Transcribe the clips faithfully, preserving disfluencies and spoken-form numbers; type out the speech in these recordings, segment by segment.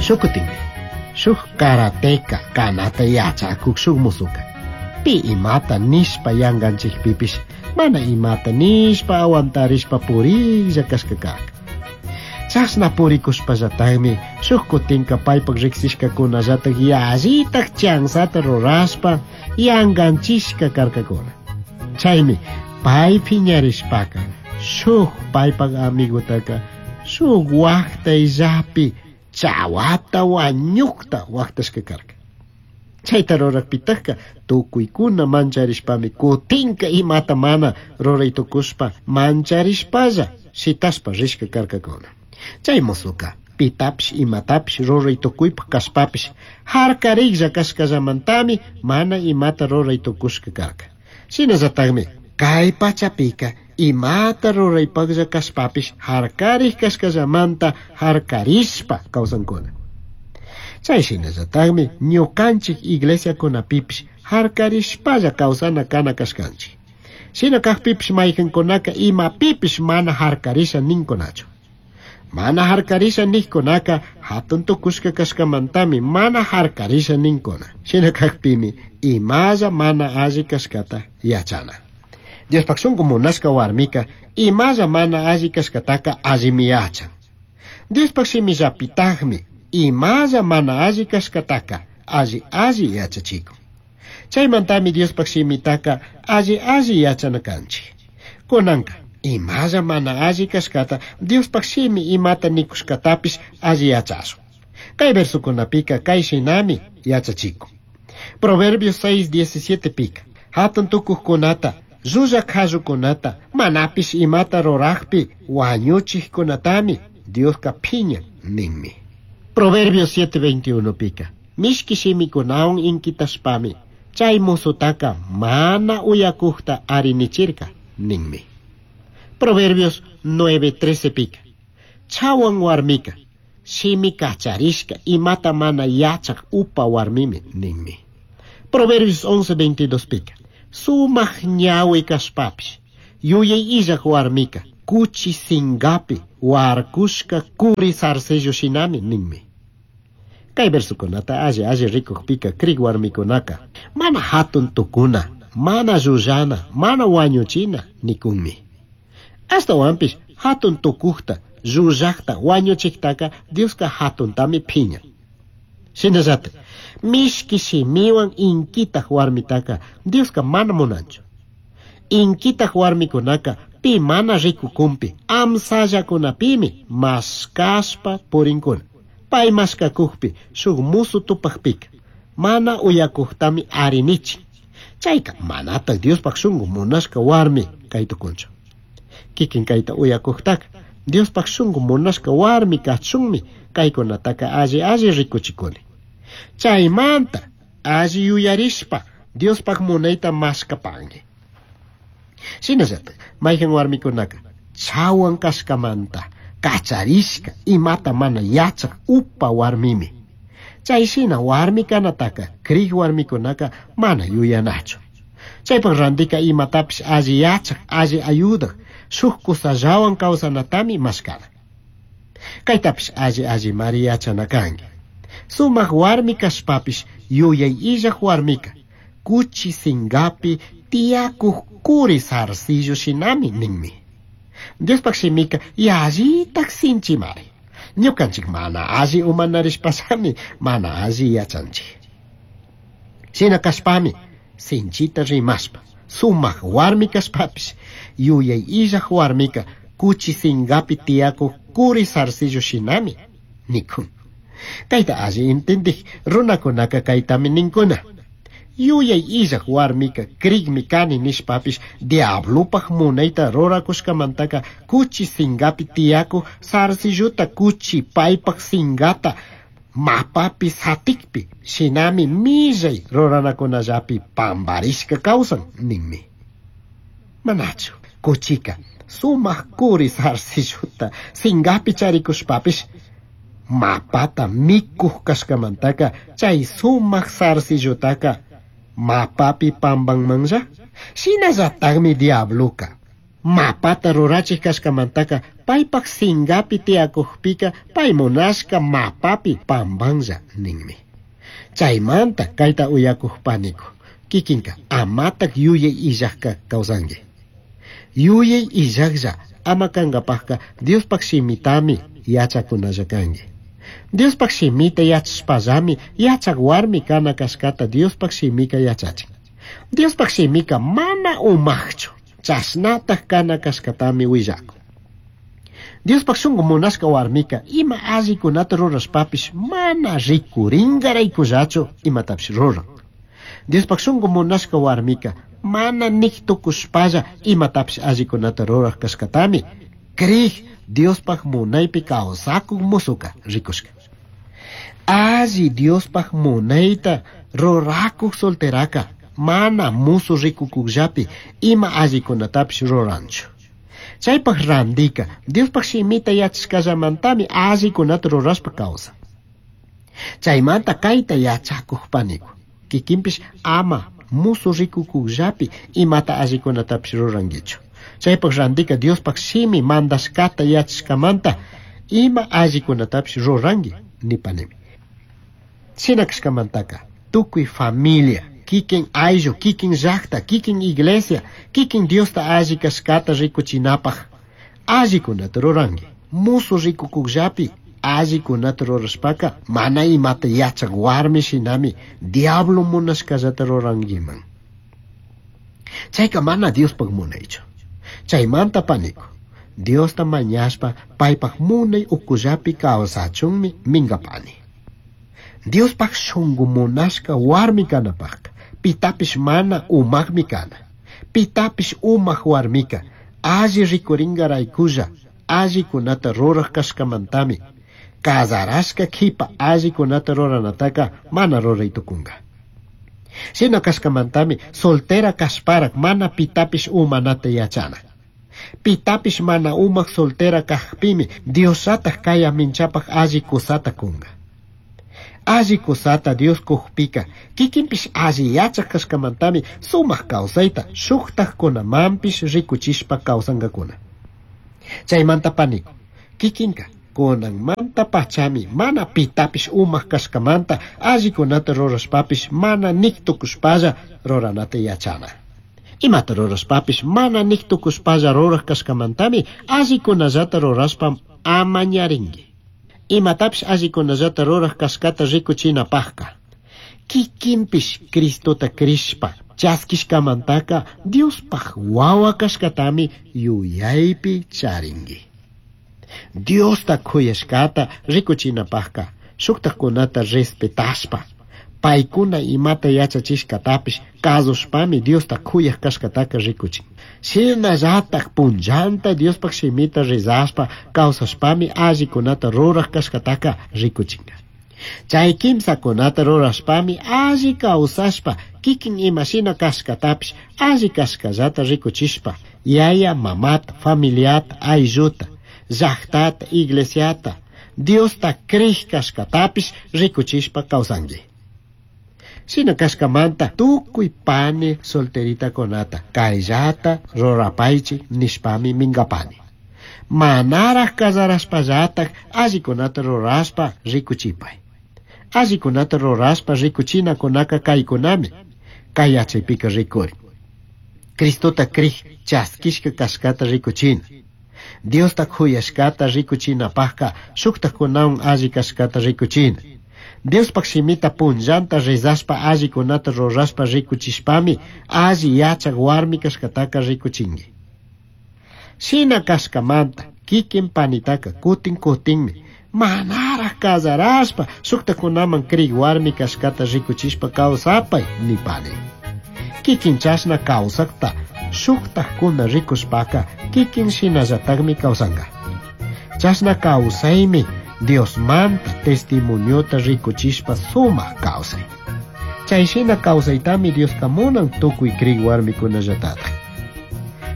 Shukutinmi, shuk karateka kanata yachakuk shuk musuka. Pi imata nishpa yanganchikpipish, mana imata nishpa aguantarishpa puriklla kashka karka. Chashna purikushpallatagmi shuk kutinka paypak riksishkakunallatak yallitak chansata rurashpa yanganchishka karkakuna. Chaymi pay phiñarishpaka shuk paypak amigutaka shuk waqtayllapi chawata wañukta waqtashka karka. Chayta rurakpitakka tukuykuna mancharishpami kutinka imata mana ruray tukushpa mancharishpalla shitashpa rishka karkakuna. Chay musuka pitapish imatapish ruray tukuypak kashpapish harkariklla kashkallamantami mana imata ruray tukushka karka. Shinallatakmi kay pachapika imata ruraypaklla kashpapish harkarik kashkallamanta harkarishpa kawsankuna. Chay shinallatakmi ñukanchik iglesiakunapipish harkarishpalla kawsana kana kashkanchik. Shina kaqpipish mayqinkunaka imapipish mana harkarisha ninkunachu. Mana harkarisha niqkunaka hatun tukushka kashkamantami mana harkarisha ninkuna. Shina kaqpimi imalla mana alli kashkata yachana. Diospaq shunqu munashka warmika imalla mana alli kashkataka allimi yachan. Diospaq shimillapitaqmi imalla mana alli kashkataka alli alli yachachikun. Chaymantami Diospaq shimitaka alli alli yachana kanchik. Kunanka imalla mana alli kashkata Diospaq shimi imata nikushkatapish alli yachashun. Kay versukunapika kay shinami yachachikun. Proverbios seis diecisiete pika. Hatun tukuqkunata, llullaq qallukunata, manapish imata ruraqpi wañuchiqkunatami Dioska phiñan ninmi. Proverbios siete veintiuno pika. Mishki shimikunawan inkitashpami chay musutaka mana uyakuqta arinichirka ninmi. Proverbios nueve trece pika. Chawan warmika shimi kacharishka imata mana yachaq upa warmimi ninmi. Proverbios once veintidós pika. Sumaq ñawi kashpapish yuyay illaq warmika kuchi singapi warkushka kuri zarcillo shinami ninmi. Kay versukunata alli alli rikuqpika krik warmikunaka mana hatun tukuna, mana llullana, mana wañuchina nikunmi. Ashtawanpish hatun tukuqta, llullaqta, wañuchiqtaka Dioska hatuntami phiñan. Shinallatak mishki shimiwan inkitaq warmitaka Dioska mana munanchu. Inkitaq warmikunaka pi mana rikukunpi amsallakunapimi mashkashpa purinkuna. Pay mashkakukpi shuk musu tupaqpika mana uyakuqtami arinichin. Chayka manataq Diospaq shunqu munashka warmi kay tukunchu. Kikin kayta uyakuqtaka Diospaq shunqu munashka warmi kachunmi kaykunataka alli alli rikuchikuni. Chaymanta alli yuyarishpa Diospaq munayta mashkapanki. Shinallatak mayqin warmikunaka chawan kashkamanta kacharishka imata mana yachaq upa warmimi. Chay shina warmi kanataka krik warmikunaka mana yuyanachu. Chaypaq randika imatapish alli yachaq alli ayudaq shuk kusallawan kawsanatami mashkana. Kaytapish alli allimari yachana kanki. Sumaq warmi kashpapish yuyay illaq warmika kuchi singapi tiyakuq kuri zarcillo shinami ninmi. Diospaq shimika yallitak sinchimari. Ñukanchik mana alli umanarishpallami mana alli yachanchik. Shina kashpami sinchita rimashpa sumaq warmi kashpapish yuyay illaq warmika kuchi singapi tiyakuq kuri zarcillo shinami nikun. Kayta alli intindik runakunaka kaytami ninkuna. Yuyay illaq warmika krikmi kani nishpapish diablupaq munayta rurakushkamantaka kuchi singapi tiyakuq zarcilluta kuchi paypaq singata mapapi satikpi shinami millay ruranakunallapi pamparishka kawsan ninmi. Manachu kuchika sumaq kuri zarcilluta singapi charikushpapish mapata mikuq kashkamantaka chay sumaq zarcillutaka mapapi pampanmanlla. Shinallatakmi diabluka Mapata rurachij kashkamantaka paypak singapi tiyakukpika pay munashka mapapi pambanlla ninmi. Chaymanta kayta uyakuq paniku kikinka amatak yuyay illajka kawsanki. Yuyay illajlla ama kankapajka Diospaj shimitami yachakunalla kanki. Diospaj shimita yachashpallami yachak warmi kana kashkata Diospaj shimika yachachin. Diospaj shimika mana umajchu chashnataj kana kashkatami willakun. Diospaj shunku munashka warmika ima allikunata rurashpapish mana rikurinkaraykullachu imatapish ruran. Diospaj shunku munashka warmika mana nik tukushpalla imatapish allikunata ruraj kashkatami krij Diospaj munaypi kawsakuk musuka rikushka. Alli Diospaj munayta rurakuk solteraka mana musu rikukukllapi ima allikunatapish ruranchu. Chaypaj randika Diospaj shimita yachashkallamantami allikunata rurashpa kawsan. Chaymanta kayta yachakuq paniku kikinpish ama musu rikukukllapi imata allikunatapish rurankichu. Chaypaj randika Diospaj shimi mandashkata yachashkamanta ima allikunatapish ruranki nipanimi. Shina kashkamantaka tukuy familia kikin ayllu, kikin llaqta, kikin iglesia, kikin Diosta alli kashkata rikuchinapaj allikunata ruranki. Musu rikukukllapi allikunata rurashpaka mana imata yachak warmi shinami diablo munashkallata rurankiman. Chayka mana Diospaj munaychu. Chaymanta paniku Diosta mañashpa paypaj munay ukullapi kawsachunmi minkapani. Diospaj shunku munashka warmi kanapajka pitapish mana umajmi kana. Pitapish umaj warmika alli rikurinkaraykulla allikunata ruraj kashkamantami kazarashka kipa allikunata ruranataka mana ruray tukunka. Shina kashkamantami soltera kashparak mana pitapish umanata yachana. Pitapish mana umaj soltera kajpimi Diosllataj kay minchapaj alli kusata kunka. Alli kusata Dios kujpika kikinpish alli yachaj kashkamantami sumaq kawsayta shuktajkunamanpish rikuchishpa kawsankakuna. Chaymanta paniku kikinka kunanmanta pachami mana pitapish umaj kashkamanta allikunata rurashpapish mana nik tukushpalla ruranata yachana. Imata rurashpapish mana nik tukushpalla ruraj kashkamantami allikunallata rurashpa amañarinki. Imatapish allikunallata ruraj kashkata rikuchinapajka kikinpish Cristota krishpa chaskishkamantaka Diospaj wawa kashkatami yuyaypi charinki. Diosta kuyashkata rikuchinapajka shuktajkunata respetashpa paykuna imata yachachishkatapish kasushpami Diosta kuyaj kashkataka rikuchin. Shinallataj punllanta Diospaj shimita rezashpa kawsashpami allikunata ruraj kashkataka rikuchinka. Chay kimsakunata rurashpami alli kawsashpa kikin imashina kashkatapish alli kashkallata rikuchishpa yaya mamata, familiata, aylluta, llaqtata, iglesiata, Diosta krij kashkatapish rikuchishpa kawsanki. Shina kashkamanta tukuy pani solteritakunata kayllata rurapaychik nishpami minkapani. Manaraj kazarashpallataj allikunata rurashpa rikuchipay. Allikunata rurashpa rikuchinakunaka kaykunami kay yachaypika rikurin. Cristota krij chaskishka kashkata rikuchina. Diosta kuyashkata rikuchinapajka shuktajkunawan alli kashkata rikuchina. Diospaj shimita punllanta rezashpa allikunata rurashpa rikuchishpami alli yachak warmi kashkataka rikuchinki. Shina kashkamanta kikin panitaka kutin kutinmi manaraj kazarashpa shuktakunaman krik warmi kashkata rikuchishpa kawsapay nipani. Kikin chashna kawsakta shuktajkuna rikushpaka kikin shinallatakmi kawsanka. Chashna kawsaymi Diosmanta testimoniota rikuchishpa sumaq kawsay. Chay shina kawsaytami Dioska munan tukuy krik warmikunallatataj.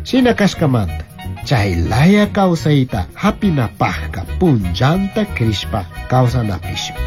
Shina kashkamanta chay laya kawsayta hapinapajka punllanta krishpa kawsanapishmi.